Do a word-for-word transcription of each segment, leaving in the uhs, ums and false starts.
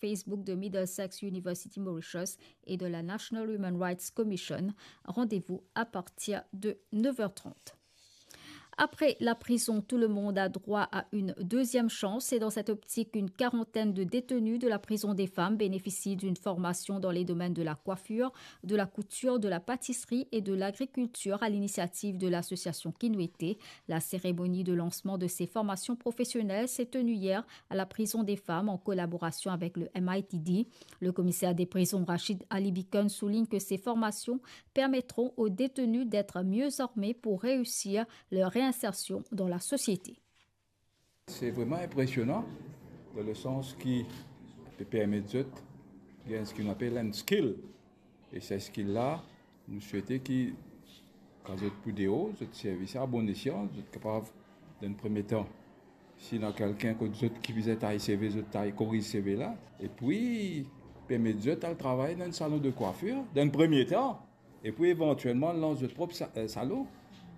Facebook de Middlesex University Mauritius et de la National Human Rights Commission. Rendez-vous à partir de neuf heures trente. Après la prison, tout le monde a droit à une deuxième chance. C'est dans cette optique qu'une quarantaine de détenus de la prison des femmes bénéficient d'une formation dans les domaines de la coiffure, de la couture, de la pâtisserie et de l'agriculture à l'initiative de l'association Kinwete. La cérémonie de lancement de ces formations professionnelles s'est tenue hier à la prison des femmes en collaboration avec le M I T D. Le commissaire des prisons, Rachid Ali Bikon, souligne que ces formations permettront aux détenus d'être mieux armés pour réussir leur réinsertion dans la société. Se vreman inpresionan, dan le sans ki pe permet zot gagn seki nou apel enn skill. E sa skill la, nou swete ki, kan zot pou deor, zot servi sa a bon esyan, zot kapav, dan premie tan, si ena kelkenn kot zot ki bizin tay seve, zot tay koriz seve la, epi permet zot al travay dan enn salon de kwafir, dan premie tan, epi evantielman lans zot prop sa-, eh, salon.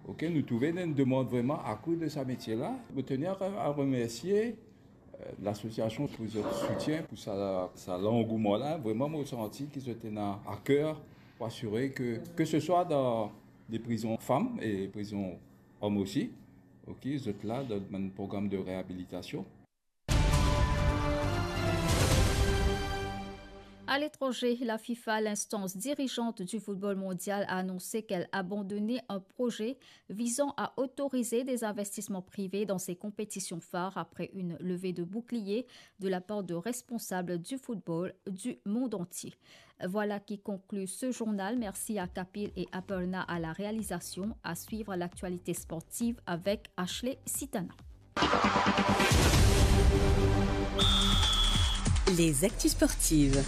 Ok, nou trouve ena enn demann vreman akri de sa metie la. Mo teni a, a remersie, eh, lasosiasion pou zot soutien, pou sa, sa langouman la. Vreman, mo santi ki zot ena a ker pou asire ke, ke se swa dan de prizon fam e prizon om osi, ok, zot la dan bann program de reabilitasion. À l'étranger, la FIFA, l'instance dirigeante du football mondial, a annoncé qu'elle abandonnait un projet visant à autoriser des investissements privés dans ses compétitions phares après une levée de bouclier de la part de responsables du football du monde entier. Voilà qui conclut ce journal. Merci à Kapil et Aparna à la réalisation. À suivre l'actualité sportive avec Ashley Sitana. Les actus sportives.